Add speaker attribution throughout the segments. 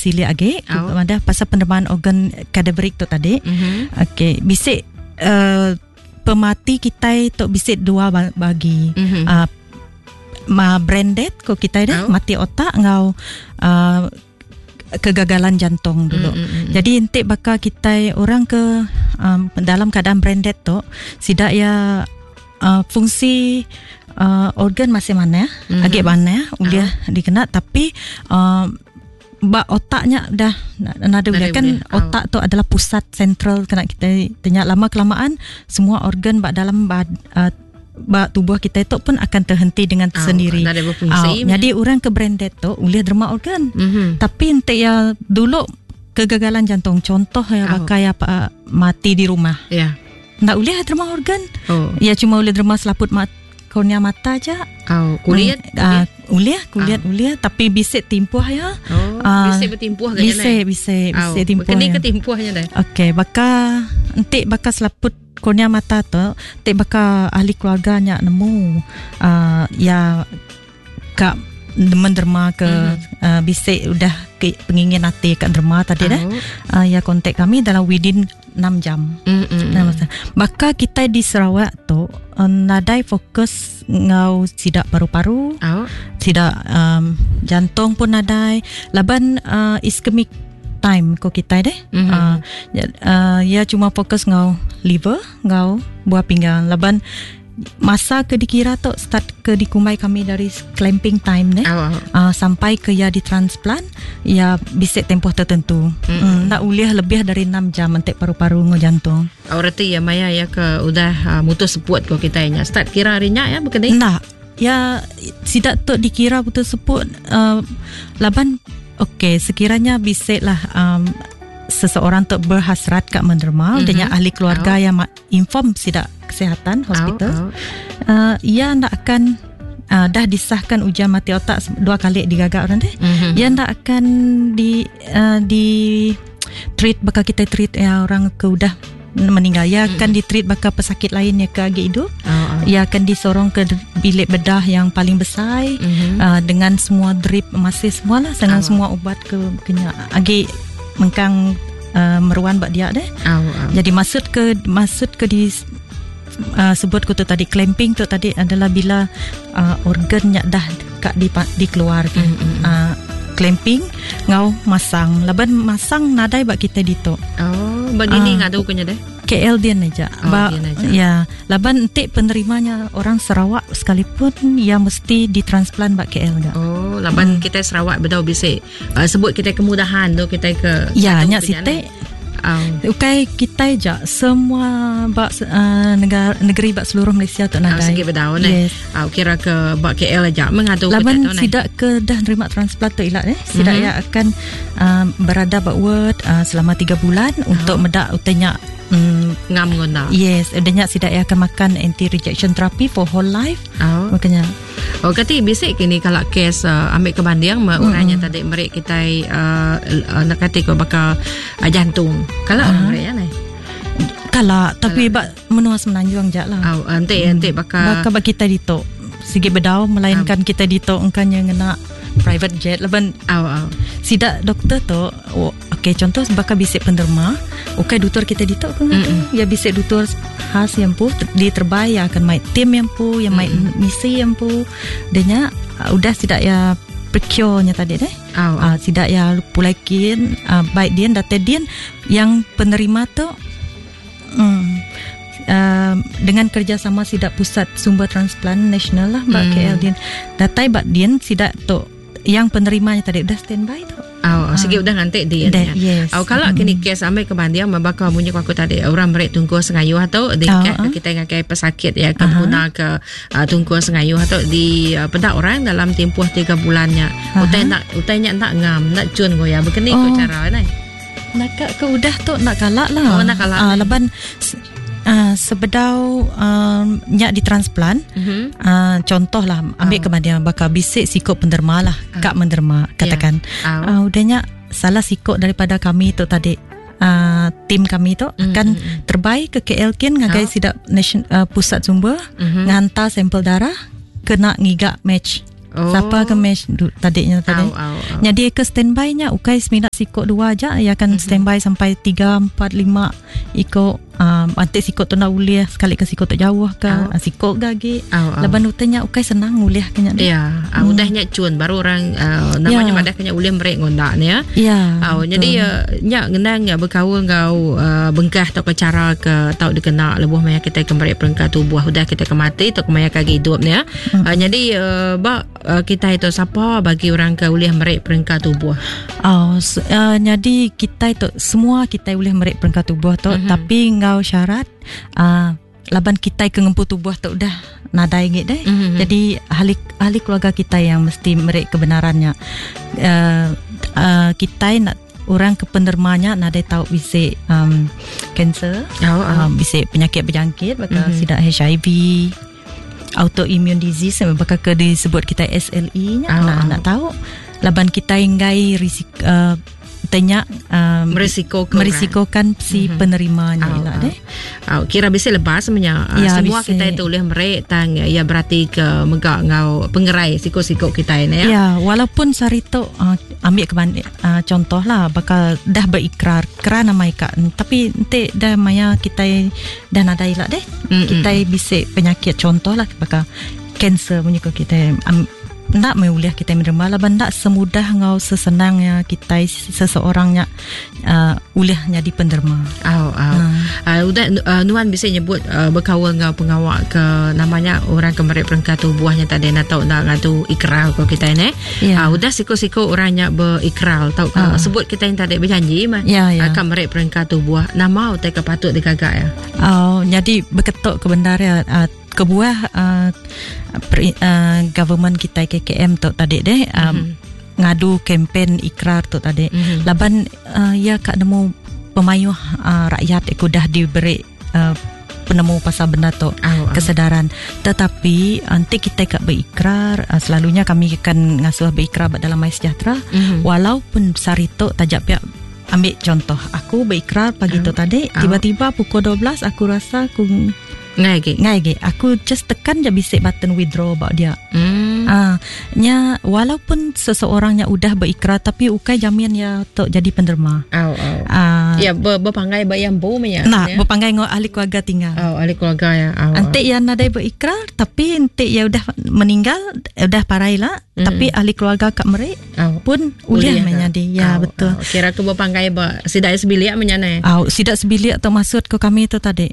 Speaker 1: silik agi oh. madah pasal penerimaan organ cadaveric tu tadi. Mm-hmm. Okey, bisi pemati kitai tu bisi dua bagi. Mm-hmm. Ma brain death ko kitai deh, oh. mati otak enggau kegagalan jantung dulu. Mm-hmm. Jadi enti baka kitai orang ke um, dalam keadaan brain death tu, sida ya fungsi organ masih manah, mm-hmm. agi manah, ulih uh. dikena tapi ba otaknya dah nada ulih kan oh. Otak tu adalah pusat sentral kena kita tanya lama kelamaan semua organ ba dalam ba, ba tubuh kita itu pun akan terhenti dengan oh, sendiri.
Speaker 2: Oh,
Speaker 1: jadi orang ke brain dead tu boleh derma organ. Tapi enti ya dulu kegagalan jantung contoh ya oh. Pakai apa mati di rumah.
Speaker 2: Ya. Yeah.
Speaker 1: Tak boleh derma organ. Oh. Ya cuma boleh derma selaput mat kornea mata aja.
Speaker 2: Oh, kulit.
Speaker 1: Boleh, kulit oh. Boleh tapi bisik timpuh ya.
Speaker 2: Oh, bisik bertimpuh
Speaker 1: ke Bisik, bisik, bisik timpuh.
Speaker 2: Kini ke timpuhnya dah.
Speaker 1: Okey, baka entik baka selaput kornea mata tu, entik baka ahli keluarganya nemu ya kak menderma ke mm-hmm. Bisik udah ke pengingin hati kat derma tadi dah. Ya kontak kami dalam within 6 jam.
Speaker 2: Mm-hmm.
Speaker 1: Baka kita di Sarawak tu nadai fokus ngau sidak paru-paru.
Speaker 2: Oh.
Speaker 1: Sidak jantung pun nadai. Laban ischemic time ko kita deh.
Speaker 2: Mm-hmm.
Speaker 1: Ya cuma fokus ngau liver, ngau buah pinggang. Laban masa ke dikira tu start ke dikumbai kami dari clamping time ne
Speaker 2: oh.
Speaker 1: Sampai ke ya ditransplant ya bisik tempoh tertentu.
Speaker 2: Mm.
Speaker 1: Nak ulih lebih dari 6 jam entek paru-paru ngau jantung.
Speaker 2: Oh, reti ya maya ya ke udah mutus seput ko kita nya. Start kira hari nya ya bukan
Speaker 1: Nah, ya sidak tu dikira putus seput laban okey sekiranya bisik lah seseorang tu berhasrat kat menderma
Speaker 2: Mm-hmm.
Speaker 1: dengan ahli keluarga yang inform sidak kesihatan hospital. Ia ndak akan dah disahkan ujian mati otak dua kali digagak orang deh.
Speaker 2: Mm-hmm.
Speaker 1: Ia ndak akan di di treat bakal kita treat ya orang ke udah meninggal. Ia akan di treat bakal pesakit lain yang ke agi hidup.
Speaker 2: Oh.
Speaker 1: Ia akan disorong ke bilik bedah yang paling besar
Speaker 2: mm-hmm.
Speaker 1: Dengan semua drip masih semua lah dengan semua ubat ke kena agi mengkang meruan bak dia deh.
Speaker 2: Oh, oh.
Speaker 1: Jadi maksud ke di sebut ku tu tadi clamping tu tadi adalah bila organnya dah kak di dikeluarkan.
Speaker 2: Mm-hmm.
Speaker 1: Clamping ngau masang. Laban masang nadai bak kita ditu.
Speaker 2: Oh, begini ngadu kunya deh.
Speaker 1: KL dia aja.
Speaker 2: Oh,
Speaker 1: ba,
Speaker 2: Dian aja.
Speaker 1: Ya, laban entik penerimanya orang Sarawak sekalipun ya mesti ditransplant bak KL enggak.
Speaker 2: Oh, laban kita Sarawak bedau bisik. Sebut kita kemudahan tu kita ke
Speaker 1: Ya, nyak sitik.
Speaker 2: Oh.
Speaker 1: Ukai kita je semua bak negara negeri bak seluruh Malaysia tu nadai.
Speaker 2: Segi bedau ne.
Speaker 1: Yes.
Speaker 2: Kira ke bak KL aja mengadu
Speaker 1: laban
Speaker 2: kita tu
Speaker 1: sidak ke dah nerima transplant tu ilak sidak
Speaker 2: mm-hmm.
Speaker 1: ya akan berada bak ward selama 3 bulan untuk medak utanya
Speaker 2: ngam guna.
Speaker 1: Yes, udahnya sidak ya akan makan anti rejection therapy for whole life.
Speaker 2: Oh.
Speaker 1: Makanya
Speaker 2: Oh, kati bisik kini kalau kes ambil kebanding mm-hmm. orangnya tadi mereka kita nak kata ko bakal jantung. Kalau orang mereka ni.
Speaker 1: Kalau tapi bak menua Semenanjung jak lah.
Speaker 2: Oh, ente ente bakal
Speaker 1: bakal bak kita ditok. Sigi bedau melainkan kita ditok engkanya ngena private jet laban.
Speaker 2: Oh, oh.
Speaker 1: Sidak doktor tu oh, okey contoh bakal bisik penderma okey doktor kita ditok ke
Speaker 2: mm-hmm.
Speaker 1: ya bisik doktor khas yang pu di terbaik yang akan mai tim yang pu yang mai
Speaker 2: mm-hmm.
Speaker 1: misi yang pu denya udah sidak ya procure-nya tadi deh.
Speaker 2: Oh, oh.
Speaker 1: Sidak ya pulaikin baik dia data dia yang penerima tu dengan kerjasama sidak pusat sumber transplant nasional lah bak KL dia datai bak dia sidak tu yang penerimanya tadi udah standby tu.
Speaker 2: Oh, segi udah ngantik dia.
Speaker 1: That, yes.
Speaker 2: Oh, kalau kini kes ambil kebanding membakar bunyi aku tadi orang merek tunggu sengayuh atau di kita ngakai pesakit ya ke guna ke tunggu sengayuh atau di pedak orang dalam tempoh 3 bulannya. Utai nak utainya nak ngam, nak cun go ya. Begini ko cara ni.
Speaker 1: Nak ke udah tu nak kalak lah.
Speaker 2: Oh, nak kalak.
Speaker 1: Laban sebedau nyak ditransplant
Speaker 2: mm-hmm.
Speaker 1: Contoh lah ambil kebanding bakal bisik sikok penderma lah kak menderma katakan
Speaker 2: yeah.
Speaker 1: Udah nyak salah sikok daripada kami tu tadi tim kami tu akan terbaik ke KL kin ngagai sidak nation, pusat sumber
Speaker 2: mm-hmm.
Speaker 1: ngantar sampel darah kena ngigak match.
Speaker 2: Oh.
Speaker 1: Siapa ke match tadinya tadi.
Speaker 2: Au, au, au.
Speaker 1: Jadi ke standby nya ukai semina sikok dua aja, ia akan mm-hmm. standby sampai 3 4 5 ikok antik sikok tu nak ulih sekali ke sikok tu jauh ke oh. Sikok gagi.
Speaker 2: Oh, oh.
Speaker 1: Laban utanya ukai senang ulih kenya.
Speaker 2: Ya, mm. Udahnya cun baru orang namanya madah kenya ulih merek ngondak ni ya.
Speaker 1: Ya.
Speaker 2: Oh, jadi nya ngenang nya berkaul ngau bengkah atau ke cara ke tau dikena lebuh maya kita ke merek perengka tubuh udah kita ke mati atau ke maya kagi hidup ni ya. Jadi ba kita itu siapa bagi orang ke ulih merek perengka tubuh?
Speaker 1: Oh, jadi kita itu semua kita ulih merek perengka tubuh tu mm-hmm. tapi ngau syarat laban kita ke ngempu tubuh tu udah nadai ngit deh. Mm-hmm. Jadi ahli keluarga kita yang mesti merek kebenarannya. Kita nak orang ke penerimanya nadai tahu bisa kanser, bisa penyakit berjangkit bakal mm-hmm. sidak HIV, autoimmune disease bakal ke disebut kita SLE nya nak tahu laban kita enggai risiko tanya merisikokan si mm-hmm. penerimanya mm-hmm. lah deh.
Speaker 2: Kira bisa lepas sebenarnya ya, semua bisa. Kita itu boleh merek tang ya berarti ke megak ngau pengerai siko-siko kita ini ya.
Speaker 1: Ya, walaupun sarito ambil ke contoh lah bakal dah berikrar kerana maika tapi nanti dah maya kita dah nadai lah deh. Mm-hmm. Kita bisa penyakit contoh lah bakal kanser punya kita nak meuliah kita menerima lah benda semudah ngau sesenangnya kita seseorangnya uliahnya di penderma.
Speaker 2: Oh, oh. Udah nuan bisa nyebut berkawal ngau pengawak ke namanya orang ke merek perengka tubuhnya tadi nak tahu nak ngadu ikrar ko kita ni.
Speaker 1: Yeah.
Speaker 2: Udah siko-siko orangnya berikrar tau sebut kita yang tadi berjanji mah
Speaker 1: yeah, yeah.
Speaker 2: Akan merek perengka tubuh nama utai ke patut digagak ya.
Speaker 1: Oh, jadi berketuk ke bendar ya kebuah government kita KKM tu tadi deh mm-hmm. ngadu kempen ikrar tu tadi mm-hmm. Laban ya kak nemu pemayuh rakyat aku dah diberi penemu pasal benda tu kesedaran. Tetapi nanti kita kat berikrar selalunya kami akan ngasuh berikrar dalam MySejahtera mm-hmm. walaupun sari tu tajak pihak ambil contoh aku berikrar pagi tu tadi tiba-tiba pukul 12 aku rasa aku ngai aku just tekan je bisik button withdraw about dia. Nya walaupun seseorangnya udah berikrar tapi ukai jamin ya untuk jadi penderma.
Speaker 2: Ya berpanggai bayam bu nya.
Speaker 1: Nah, berpanggai ngau ahli keluarga tinggal.
Speaker 2: Oh, ahli keluarga ya.
Speaker 1: Antik ya nadai berikrar tapi antik ya udah meninggal udah parai lah tapi ahli keluarga kat merek pun uliah menjadi. Ya betul.
Speaker 2: Kira ke berpanggai ba sidak sebilik menyane.
Speaker 1: Sidak sebilik tu maksud ke kami tu tadi.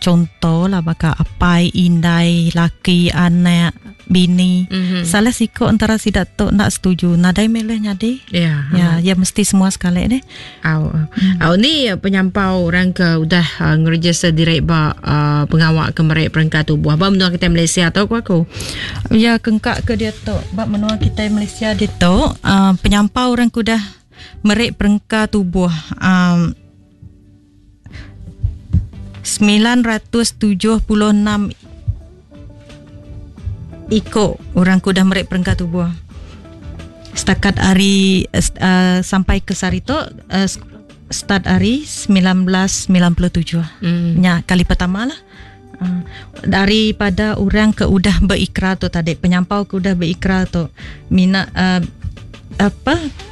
Speaker 1: Contoh lah bakal apai, indai, laki, anak, bini. Mm-hmm. Salah siko antara sidak tu nak setuju. Nadai meleh nyadi.
Speaker 2: Ya.
Speaker 1: Ya, ya mesti semua sekali deh.
Speaker 2: Ni penyampau orang ke udah ngeregister direk ba pengawak ke merek perengka tubuh. Ba menua kita Malaysia tau ku aku.
Speaker 1: Ya kengkak ke dia tu. Ba menua kita Malaysia dia tu penyampau orang ke udah merek perengka tubuh 976 ikut orang ku dah merek perengka tubuh. Setakat hari sampai ke Sarito start hari 1997. Nya kali pertama lah. Daripada orang ke udah berikrar tu tadi, penyampau ke udah berikrar tu mina apa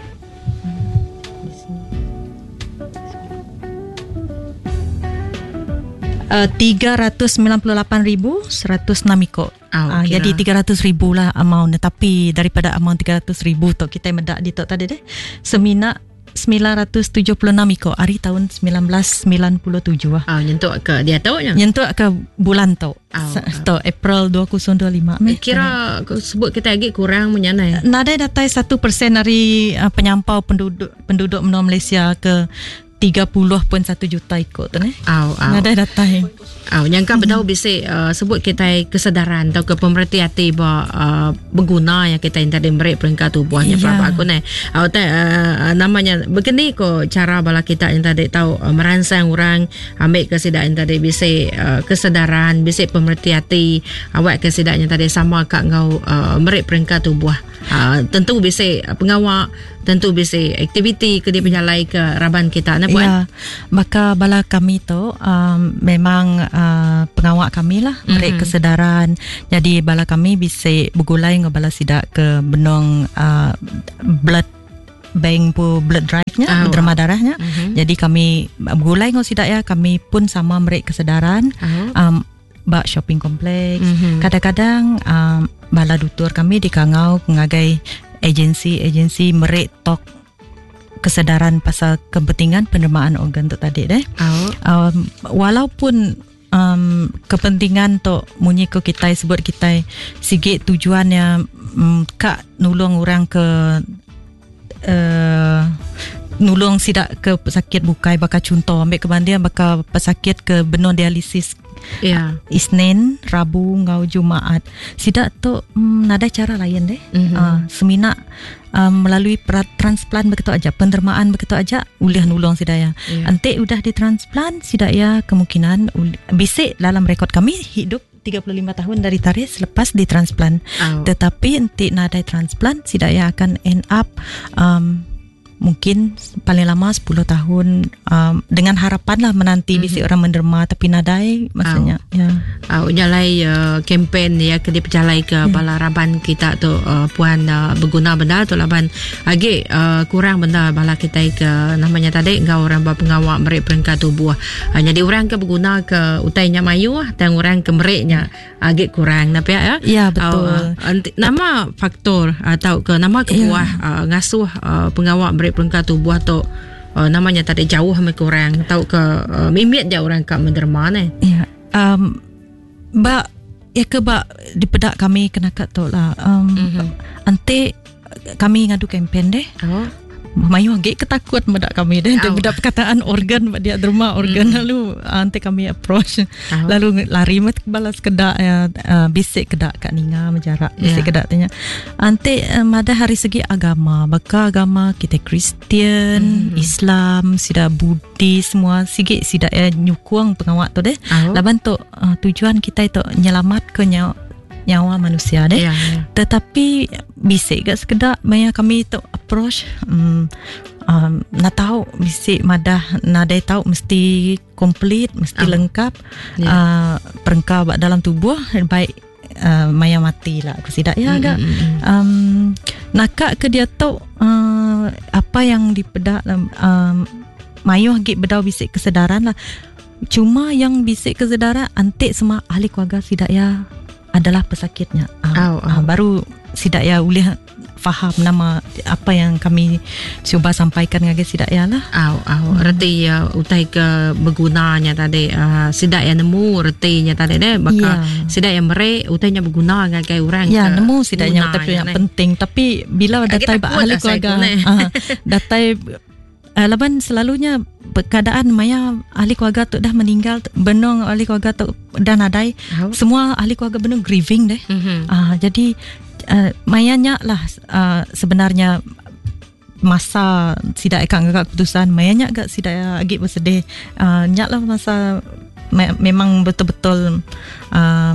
Speaker 1: 398,106 ikut. Jadi 300,000 lah amount. Tapi daripada amount 300,000 tu kita mendak di tu tadi deh. Semina 976 ikut hari tahun 1997 lah.
Speaker 2: Nyentuk ke dia tahu nya.
Speaker 1: Nyentuk ke bulan tu. Tu April 2025.
Speaker 2: Kira sebut kita lagi kurang menyanai.
Speaker 1: Nadai datai 1% dari penyampau penduduk menua Malaysia ke 30.1 juta ikut tu ni. Nadai datai.
Speaker 2: Nyangka bedau bisa sebut kita kesedaran atau ke pemerhati hati ba berguna yang kita yang tadi merek perengka tubuhnya berapa aku ni. Namanya begini ko cara bala kita yang tadi tahu merangsang orang ambil kesedaran yang tadi bisa kesedaran, bisa pemerhati hati awak kesedaran yang tadi sama kak ngau merek perengka tubuh. Tentu bisa pengawak tentu bisi aktiviti ke dipejalai ke raban kita ne puan.
Speaker 1: Ya, baka bala kami tu um, memang uh, pengawa kami lah meri mm-hmm. kesedaran. Jadi bala kami bisi begulai enggau bala sida ke benung uh, blood bank pu blood drive nya oh. derma darah nya. Mm-hmm. Jadi kami begulai enggau sida ya, kami pun sama meri kesedaran. Oh. Um, ba shopping complex. Mm-hmm. Kadang-kadang um, bala dutur kami dikangau ngagai agensi-agensi meri talk kesedaran pasal kepentingan penerimaan organ tu tadi deh. Oh. Um, walaupun um, kepentingan tu munyi ko kitai sebut kitai sigi tujuannya um, ka nulung orang ke uh, nulung sida ke pesakit bukai baka chunto ambil ke banding baka pesakit ke benung dialisis yeah. Isnin, Rabu enggau Jumaat. Sida tu mm, nadai cara lain deh. Mm-hmm. Uh, semina um, melalui transplant begitu aja, pendermaan begitu aja ulih nulung sida ya. Yeah. Enti udah ditransplant sida ya kemungkinan bisi dalam rekod kami hidup 35 tahun dari tarikh selepas ditransplant. Oh. Tetapi enti nadai transplant sida ya akan end up um, mungkin paling lama 10 tahun um, dengan harapan lah menanti mm-hmm. bisi orang menderma tapi nadai maksudnya
Speaker 2: oh. ya uh, nyalai uh, kempen ya ke dipejalai ke yeah. bala raban kita tu uh, puan uh, berguna benda tu laban agi uh, kurang benda bala kita ke namanya tadi enggau orang berpengawa meri perengka tubuh uh, jadi orang ke berguna ke utai nya mayuh dan orang ke meri nya agi kurang tapi ya
Speaker 1: ya betul
Speaker 2: uh, nama faktor atau ke nama kebuah ya. uh, ngasuh uh, pengawa beri perengka tubuh tu uh, namanya tadi jauh mai kurang atau ke uh, mimit je orang ka menderma ne
Speaker 1: ya um ba ya ke ba dipedak kami kena kat tu lah um mm-hmm. ante kami ngadu kempen deh. Oh. Mayuh agi ke takut meda kami deh. Oh. Meda perkataan organ ba dia derma organ mm. lalu ante kami approach. Oh. Lalu lari met balas kedak ya uh, bisik kedak kat ninga menjarak bisik yeah. kedak tanya. Ante uh, madah hari segi agama, baka agama kita Kristian, mm. Islam, sida Buddhis semua sigi sida ya nyukung pengawak tu deh. Oh. Laban tu uh, tujuan kita itu nyelamat ke nyawa nyawa manusia deh. Yeah, yeah. Tetapi bisik gak sekedak maya kami tu approach um, um, na tahu bisik madah nadai tahu mesti komplit mesti oh. lengkap yeah. uh, perengka dalam tubuh baik uh, maya mati lah aku sidak ya agak mm, mm, um, nakak ke dia tu uh, apa yang dipedak um, mayuh gik bedau bisik kesedaran lah Cuma yang bisik kesedaran antik semua ahli keluarga sidak ya adalah pesakitnya. Ah, oh, oh. Ah, baru sidak ya boleh faham nama apa yang kami cuba sampaikan ngagai sidak ya lah.
Speaker 2: Au au hmm. reti ya utai ke bergunanya tadi uh, sidak ya nemu retinya tadi deh baka yeah. sidak yang mere utainya berguna ngagai orang
Speaker 1: ya nemu sidaknya tapi yang penting tapi bila datai ahli keluarga uh, datai Uh, laban selalunya keadaan maya ahli keluarga tu dah meninggal benung ahli keluarga tu dah nadai oh. semua ahli keluarga benung grieving deh mm-hmm. uh, jadi uh, maya nya lah uh, sebenarnya masa sidak akan ngagak keputusan maya nya gak sidak agi bersedih uh, nya lah masa me- memang betul-betul uh,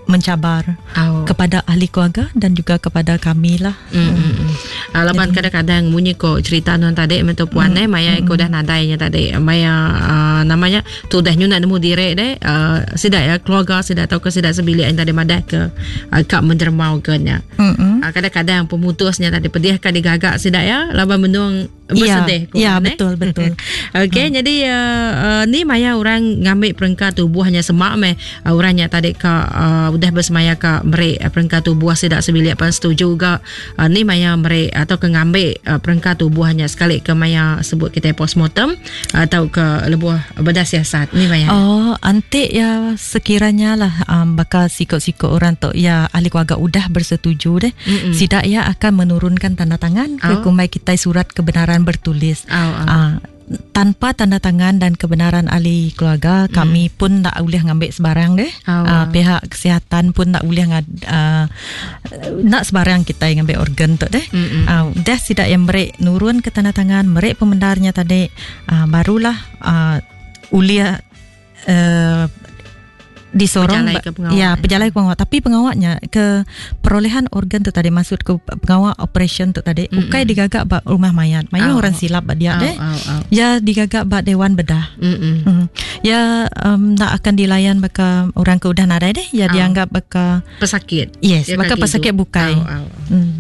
Speaker 1: mencabar oh. kepada ahli keluarga dan juga kepada kami lah.
Speaker 2: Mm, mm, mm. Uh, laban kadang-kadang munyi ko cerita non tadi mentu puan mm, eh maya mm, ko dah nadainya tadi maya uh, namanya tu dah nyuna nemu direk deh uh, sidak ya keluarga sidak atau ke sidak sebilik yang tadi madah ke uh, kak mendermau ke nya. Mm, mm. Uh, kadang-kadang pemutusnya tadi pedih ka digagak sidak ya laban menung bersedih
Speaker 1: ya, ya betul betul.
Speaker 2: Okey, hmm. jadi uh, uh, ni maya orang ngambil perengka tubuhnya semak meh uh, orangnya tadi ka uh, udah bersemaya ka meri uh, perengka tubuh sidak sebilik pun setuju ga uh, ni maya meri atau ke ngambil uh, perengka tubuhnya sekali ke maya sebut kita postmortem atau ke lebuh bedah siasat ni maya.
Speaker 1: Oh, antik ya sekiranya lah um, bakal sikok-sikok orang tu ya ahli keluarga udah bersetuju deh. Mm-mm. Sidak ya akan menurunkan tanda tangan ke oh. kumai kita surat kebenaran bertulis.
Speaker 2: Oh, oh.
Speaker 1: Uh, tanpa tanda tangan dan kebenaran ahli keluarga mm. kami pun tak boleh ngambil sebarang deh.
Speaker 2: Oh,
Speaker 1: uh, pihak kesihatan pun tak boleh ngad, uh, nak sebarang kita yang ngambil organ tu deh. Uh, dah sidak yang merek nurun ke tanda tangan, merek pemendarnya tadi uh, barulah uh, ulia uh, Disorong
Speaker 2: Pejalai ke pengawa.
Speaker 1: Ya, pejalai ke pengawa. Tapi pengawanya ke perolehan organ tu tadi maksud ke pengawa operation tu tadi mm-hmm. ukai digaga ba rumah mayat. Mayuh oh. orang silap ba dia oh, deh. Oh, oh. Ya digaga ba dewan bedah. Mm-hmm. Mm. Ya um, nak akan dilayan baka orang ke udah nadai deh. Ya oh. dianggap baka
Speaker 2: pesakit.
Speaker 1: Yes, ya baka pesakit bukai.
Speaker 2: Oh, oh. Mm.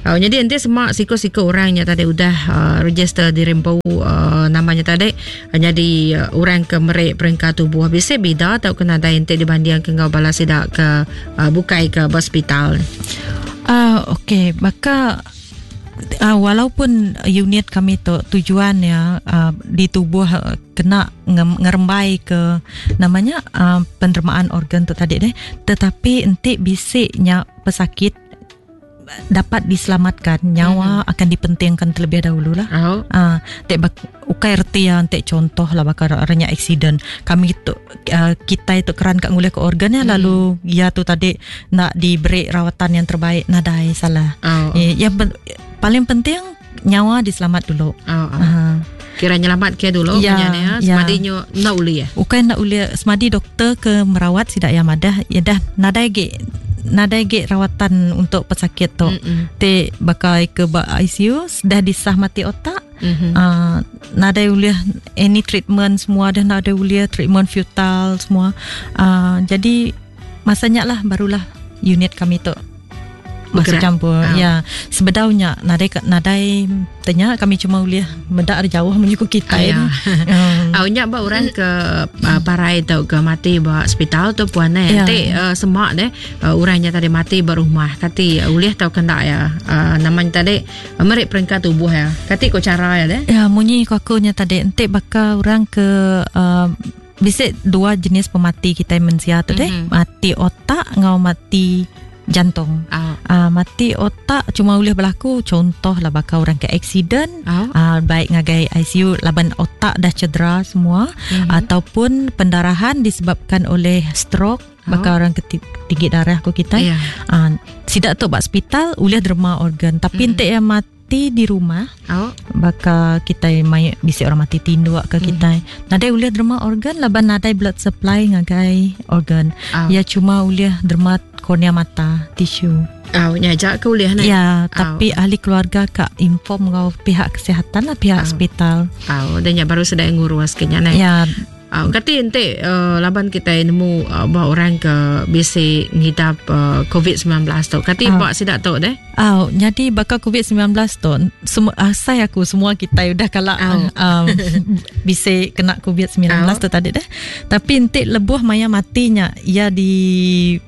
Speaker 2: Oh, jadi enti semua siku-siku orangnya tadi udah uh, register di Rimpu uh, namanya tadi Nyadi orang ke meri perengka tubuh bisi bida tauka nadai enti dibandingka enggau bala sida ke bukai ke ba sepital.
Speaker 1: Uh, okey, baka uh, walaupun unit kami tu tujuan ya uh, ditubuh kena ngerembai ke namanya uh, penerimaan organ tu tadi deh, tetapi enti bisi nya pesakit dapat diselamatkan nyawa mm-hmm. akan dipentingkan terlebih dahulu lah.
Speaker 2: Oh.
Speaker 1: Uh, tek bak, ukai reti ya tek contoh lah bakal orangnya accident. Kami tu uh, kita itu keran kat ngulih ke organ ya mm. lalu ya tu tadi nak diberi rawatan yang terbaik nadai salah.
Speaker 2: Oh.
Speaker 1: Eh, yang pen, paling penting nyawa diselamat dulu.
Speaker 2: Oh, oh. Uh. Kira nyelamat ke dulu
Speaker 1: ya,
Speaker 2: punya ni ya. Semadi ya. nyo nak uli ya.
Speaker 1: Ukai nak uli semadi doktor ke merawat sidak yang madah ya dah nadai ge nadai ge rawatan untuk pesakit tu. Te bakal ke ba ICU dah disah mati otak. Mm-hmm. Uh, nadai ulih any treatment semua dah nadai ulih treatment futile semua. Uh, jadi masanya lah barulah unit kami tu masuk campur.
Speaker 2: Oh.
Speaker 1: Ya, sebedaunya nadai nadai tanya kami cuma ulih medak ari jauh menyuku kita.
Speaker 2: Ah, ya.
Speaker 1: Um.
Speaker 2: Au nya ba orang ke uh, parai tau ke mati ba hospital tu puan eh.
Speaker 1: Ya.
Speaker 2: Enti uh, semak deh uh, orangnya tadi mati ba rumah kati uh, ulih tau kena ya. Uh, namanya tadi uh, merik perengka tubuh ya. Kati ko cara ya deh.
Speaker 1: Ya, munyi ko aku nya tadi enti baka orang ke uh, bisi dua jenis pemati kitai mensia tu deh, mm-hmm. mati otak ngau mati jantung.
Speaker 2: Oh.
Speaker 1: Uh, mati otak cuma boleh berlaku contoh lah bakal orang ke accident,
Speaker 2: oh.
Speaker 1: uh, baik ngagai ICU laban otak dah cedera semua, mm-hmm. ataupun pendarahan disebabkan oleh stroke, oh. bakal orang ke tinggi darah ko kita.
Speaker 2: Yeah.
Speaker 1: Uh, sidak tu bak hospital boleh derma organ, tapi mm-hmm. entik yang mati di rumah,
Speaker 2: oh.
Speaker 1: bakal kita mai bisi orang mati tinduk ke kita. Mm. Nadai ulih derma organ laban nadai blood supply ngagai organ.
Speaker 2: Oh.
Speaker 1: Ya cuma ulih derma kornea mata, tisu.
Speaker 2: Oh, nyajak ke ulih ni?
Speaker 1: Ya, tapi ahli keluarga kak inform ngau pihak kesihatan lah, pihak
Speaker 2: oh.
Speaker 1: hospital.
Speaker 2: Oh, dan ya baru sedang ngurus kenya ni.
Speaker 1: Ya.
Speaker 2: Kati ente laban kita nemu uh, bahawa orang ke bisi ngidap uh, COVID-19 tu. Kati
Speaker 1: Ah.
Speaker 2: bak sidak tu deh.
Speaker 1: Oh, jadi bakal COVID-19 tu semua asai aku semua kita udah kalak
Speaker 2: Oh.
Speaker 1: um, bisa kena COVID-19
Speaker 2: Oh.
Speaker 1: tu tadi deh. Tapi ente lebuh maya matinya ia di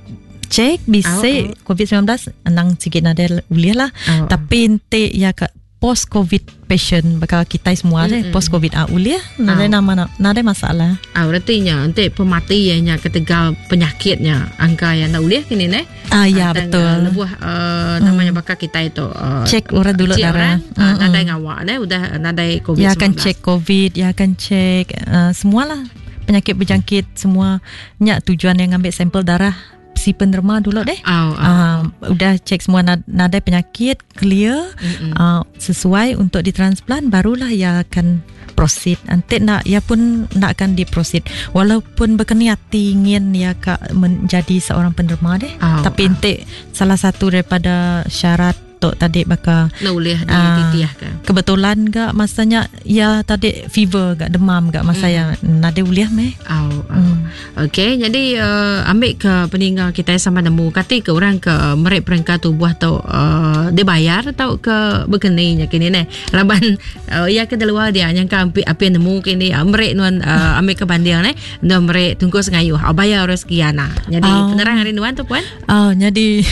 Speaker 1: cek bisa
Speaker 2: Oh, oh.
Speaker 1: COVID-19 enang sikit nada ulih lah.
Speaker 2: Oh.
Speaker 1: Tapi ente ya ka post COVID patient bakal kita semua deh
Speaker 2: Mm-mm.
Speaker 1: post COVID ah ulih nada
Speaker 2: Oh.
Speaker 1: nama nada masalah.
Speaker 2: Ah, artinya ente pematiannya ketegal penyakitnya angka yang nak ulih kini ne.
Speaker 1: Ah ya
Speaker 2: Ah, tang,
Speaker 1: betul.
Speaker 2: Uh, lebuh uh, namanya bakal kita itu uh,
Speaker 1: Cek orang dulu
Speaker 2: cek
Speaker 1: darah.
Speaker 2: orang, uh,
Speaker 1: Mm-mm.
Speaker 2: nadai ngawak ne udah nadai COVID-19.
Speaker 1: Ya akan cek COVID, ya akan cek uh, semualah penyakit berjangkit semua. Nyak tujuan yang ambil sampel darah si penerima dulu deh.
Speaker 2: Oh, oh.
Speaker 1: Uh, udah cek semua nadai penyakit clear, uh, sesuai untuk ditransplant barulah ia akan proceed. Nanti nak ia pun nak akan diproceed walaupun berkeniat ingin ia ka menjadi seorang penerima deh.
Speaker 2: Oh,
Speaker 1: Tapi
Speaker 2: oh.
Speaker 1: nanti salah satu daripada syarat tok tadi bakal
Speaker 2: Nak ulih di
Speaker 1: Ah.
Speaker 2: titiah ke.
Speaker 1: kebetulan gak masanya ya tadi fever gak demam gak masa ya nade uliah meh.
Speaker 2: Oh, oh.
Speaker 1: Hmm.
Speaker 2: Okey, jadi uh, ambil ke peninggal kita sama nemu kati ke orang ke merik perengka tubuh tu uh, dia bayar atau ke berkeninya kini ne. Laban uh, ia ke luar dia nyangka ambil api nemu kini uh, merik nuan uh, ambil ke banding ne, nuan merik tunggu sengayuh uh, bayar orang sekian nah. Jadi
Speaker 1: Oh.
Speaker 2: penerang hari nuan tu puan.
Speaker 1: Oh, jadi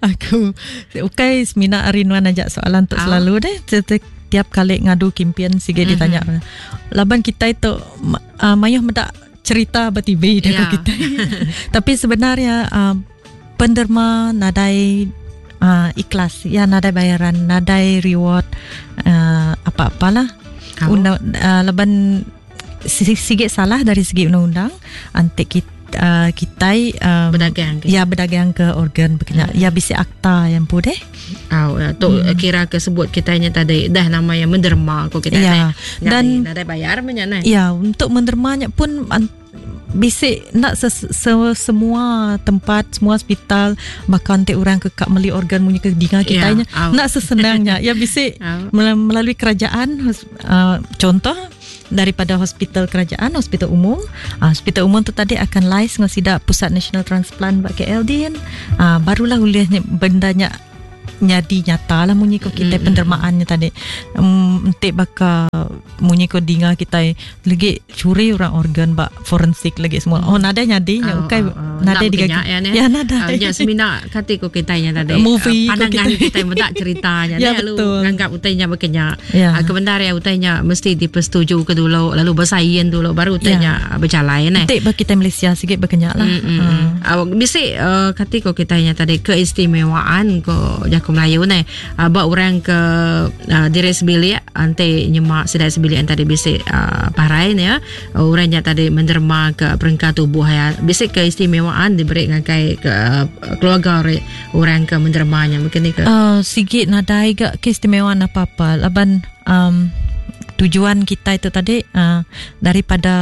Speaker 1: aku ukai semina hari nuan ajak soalan tu
Speaker 2: Oh.
Speaker 1: selalu deh. Tiap kali ngadu kimpian sige
Speaker 2: Mhm.
Speaker 1: ditanya. Laban kita itu uh, mayuh medak cerita ber-TV dah
Speaker 2: Ya.
Speaker 1: kita. Tapi sebenarnya uh, penderma nadai uh, ikhlas, ya nadai bayaran, nadai reward uh, apa-apalah.
Speaker 2: Oh.
Speaker 1: Undang, uh, laban sikit salah dari segi undang-undang antik kita uh, kitai um,
Speaker 2: Berdagang ke.
Speaker 1: ya berdagang ke organ berkena ya bisi akta yang pun deh
Speaker 2: Oh, ya, tu kira ke sebut kitanya tadi dah nama yang menderma ko kita
Speaker 1: Ya.
Speaker 2: ne.
Speaker 1: Dan-
Speaker 2: nadai bayar banyak ne.
Speaker 1: ya untuk mendermanya pun Bisi enda se, se, semua tempat, semua hospital baka enti orang ke ka meli organ munyi ke dinga kitai nya. Enda sesenang nya. Ya bisi melalui kerajaan contoh daripada hospital kerajaan, hospital umum. Hospital umum tu tadi akan liaise enggau sida Pusat Nasional Transplant ba KL din. Barulah ulih benda nya nyadi nyata lah munyi ko kitai pendermaan nya tadi. Enti baka munyi ko dinga kitai legi curi orang organ ba forensik legi semua. Oh nadai nyadi nya ukai nadai
Speaker 2: digaga. Ya, ya nadai. Nya semina kati ko kitai nya tadi.
Speaker 1: Movie
Speaker 2: pandangan kita. Kitai meda cerita nya
Speaker 1: ya, lalu
Speaker 2: nganggap utai nya bekenya. Ya. Ke bendar ya utai nya mesti dipersetuju ke dulu lalu bersain dulu baru utai ya. nya berjalai
Speaker 1: ne. Enti ba kitai Malaysia sikit bekenya lah.
Speaker 2: Bisi kati ko kitai nya tadi keistimewaan ko jaku Melayu ne uh, ba orang ke uh, diri sebilik enti nyema sida sebilik tadi bisi uh, parai ne ya orang nya tadi menderma ke perengka tubuh ya bisi keistimewaan diberi ngagai ke uh, keluarga orang ke menderma nya mungkin ni
Speaker 1: ke sigi nadai ga keistimewaan apa-apa laban um, tujuan kita itu tadi daripada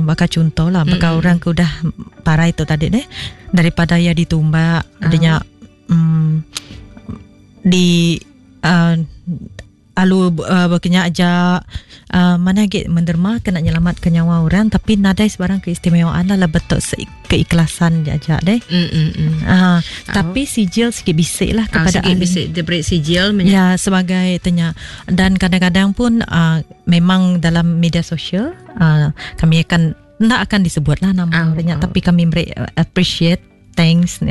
Speaker 1: baka contoh lah baka orang ke udah parai tu tadi deh daripada ia ditumbak adanya di alu bekenya aja manah agi menderma kena nyelamat ke nyawa orang tapi nadai sebarang keistimewaan lah betul keikhlasan aja deh. Tapi sijil sikit bisik lah kepada
Speaker 2: sikit bisik diberi sijil
Speaker 1: ya sebagai tanya dan kadang-kadang pun memang dalam media sosial kami akan enda akan disebut lah nama orangnya tapi kami beri appreciate thanks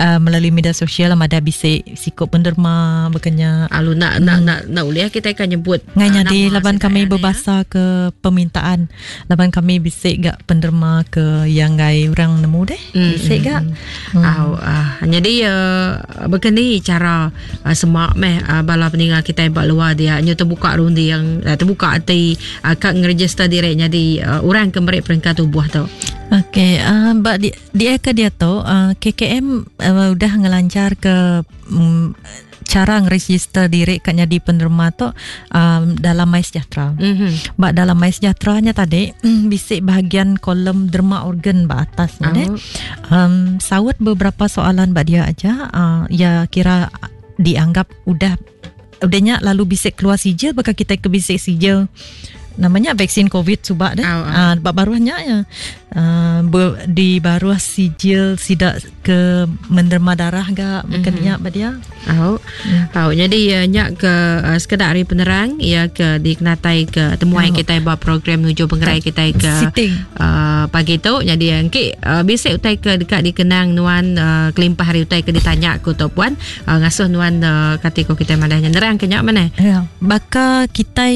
Speaker 1: melalui media sosial lah ada bisi siku penderma bekenya.
Speaker 2: Alu nak nak nak nak ulih kita akan nyebut.
Speaker 1: Ngai nyadi laban kami berbasa ke permintaan laban kami bisi gak penderma ke yang ngai orang nemu deh. Bisi gak.
Speaker 2: Au jadi bekeni cara semak meh bala peninga kita ba luar dia nyu terbuka runding terbuka ati ka ngeregister diri nyadi orang ke meri perengka tubuh tu.
Speaker 1: Okey, ba di dia ke dia tu KKM udah ngelancar ke cara ngeregister diri ka nyadi penerima tu dalam MySejahtera. Ba dalam MySejahtera nya tadi bisi bahagian kolom derma organ ba atas nya deh. Saut beberapa soalan ba dia aja ya kira dianggap udah udah nya lalu bisi keluar sijil baka kita ke bisi sijil namanya vaksin COVID subak deh. Ba baruh nya ya. Di baruh sijil sidak ke menerima darah ga bukan nya ba dia.
Speaker 2: Au. Jadi nya ke sekedak hari penerang ya ke dikenatai ke temuai kita ba program nuju pengerai kita ke pagi tu. Jadi engki bisi utai ke dekat dikenang nuan kelimpah hari utai ke ditanya ku tu puan ngasuh nuan kati ko kita madahnya nerang ke nya mana.
Speaker 1: Ya, baka kita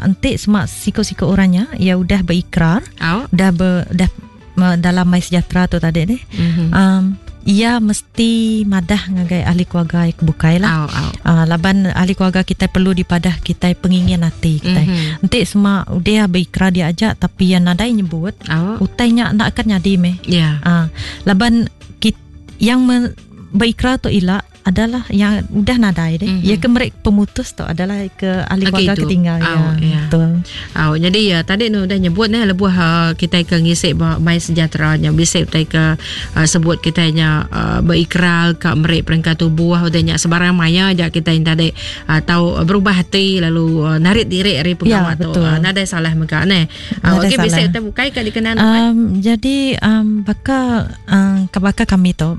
Speaker 1: enti semak siko-siko orangnya ya udah berikrar, udah dah dalam MySejahtera tu tadi ni. Ia mesti madah ngagai ahli keluarga yang bukai lah. Laban ahli keluarga kita perlu dipadah kita pengingin hati kita. Enti semua udah berikrar dia aja tapi yang nadai nyebut, utainya nak akan nyadi meh. Laban yang berikrar tu ila adalah yang udah nadai deh. Ya ke mereka pemutus tu adalah ke ahli keluarga ketinggal ya.
Speaker 2: Betul. Jadi ya tadi nu udah nyebut ne lebuh kita ke ngisi ba MySejahtera nya bisi utai ke sebut kita nya berikrar ka meri perengka tubuh udah nya sebarang maya ja kita yang tadi tau berubah hati lalu narik diri dari pengawa tu. Nadai salah mega ne. Okey bisi utai bukai ka dikenal.
Speaker 1: Jadi baka baka kami tu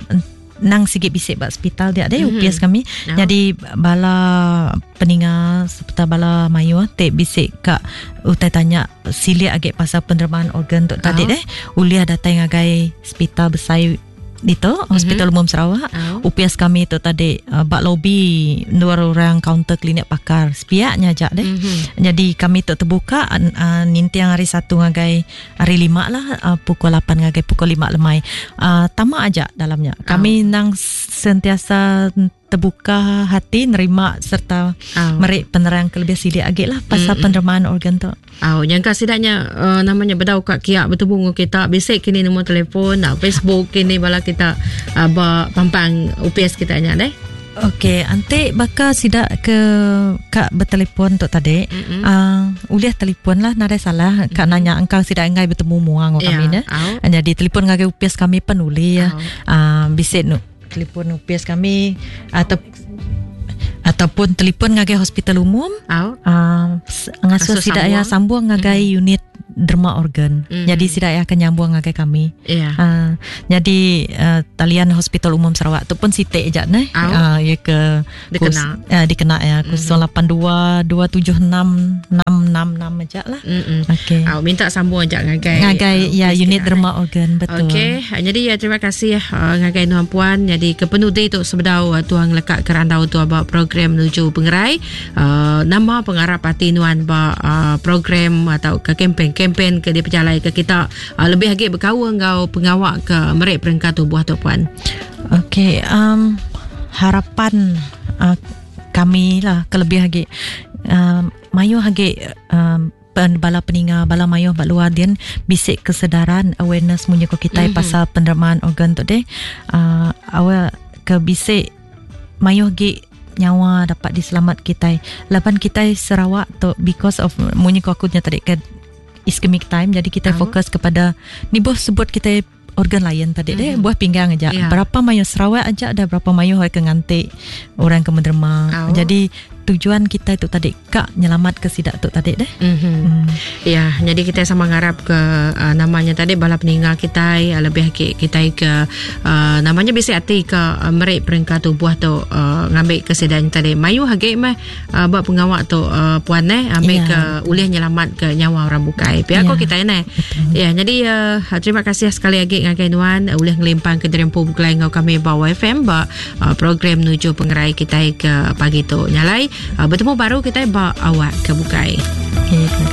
Speaker 1: nang sikit bisik ba hospital dia deh UPS kami. Jadi bala peninga serta bala mayuh te bisik ka utai tanya silik agi pasal penerimaan organ tu tadi deh ulih datai ngagai hospital besai dito Hospital Umum Sarawak. UPS kami tu tadi ba lobi dua orang kaunter klinik pakar sepiaknya aja deh. Jadi kami tu terbuka nintiang hari Satu ngagai hari 5 lah pukul 8 ngagai pukul 5 lemai. Tama aja dalamnya. Kami nang sentiasa terbuka hati nerima serta meri penerang ke lebih silik agi lah pasal penerimaan organ tu.
Speaker 2: Nyangka sidaknya namanya bedau kat kiak bertemu dengan kita bisik kini nombor telefon, Facebook kini bala kita ba pampang UPS kita nya deh.
Speaker 1: Okey, enti baka sida ke ka betelefon tu tadi, mm-hmm. ulih telefon lah nadai salah ka mm-hmm. nanya engkau sida enggai betemu mua ngau yeah. kami ne. Jadi telefon ngagai upis kami pen ulih ya. Bisi nu telefon upis kami atau ataupun telefon ngagai hospital umum. Ngasuh sida ya sambung ngagai mm-hmm. unit derma organ. Jadi sida iya akan nyambung ngagai kami.
Speaker 2: Yeah.
Speaker 1: Jadi talian Hospital Umum Sarawak tu pun siti aja neh. Ya ke
Speaker 2: dikena
Speaker 1: dikena ya 082 276 666 aja lah.
Speaker 2: Okey. Minta sambung aja ngagai
Speaker 1: ngagai ya unit derma organ betul.
Speaker 2: Okey. Jadi ya terima kasih ngagai nuan puan. Jadi ke penudi tu sebedau tuang lekak ke randau tu ba program menuju pengerai. Nama pengarap ati nuan ba program atau ke kempen-kempen ke dipejalai ke kita lebih agi bekaul enggau pengawa ke meri perengka tubuh tu puan.
Speaker 1: Okey, harapan kami lah kelebih agi mayuh agi bala peninga bala mayuh ba luar din bisi kesedaran awareness munyi ko kitai pasal penerimaan organ tu deh. Awak ke bisi mayuh agi nyawa dapat diselamat kitai laban kitai Sarawak tu because of munyi ko aku nya tadi ke ischemic time, jadi kitai fokus kepada ni boh sebut kitai organ lain tadi deh, buah pinggang aja. Berapa mayuh Sarawak aja dah berapa mayuh orang ke nganti orang ke menerima. Jadi tujuan kita tu tadi kak nyelamat ke sidak tu tadi deh.
Speaker 2: Ya, jadi kita sama ngarap ke namanya tadi bala peninggal kita lebih ke kita ke namanya bisi hati ke merik perengka tubuh tu ngambil ke sidak tadi. Mayu hage meh buat pengawak tu puan ambil ke ulih nyelamat ke nyawa orang bukai. Pihak ko kita ne. Ya, jadi terima kasih sekali lagi ngagai nuan ulih ngelimpang ke derempu bukelai ngau kami ba YFM ba program menuju pengerai kita ke pagi tu. Nyalai bertemu baru kita ba awak ke bukai.
Speaker 1: Okay, terima kasih.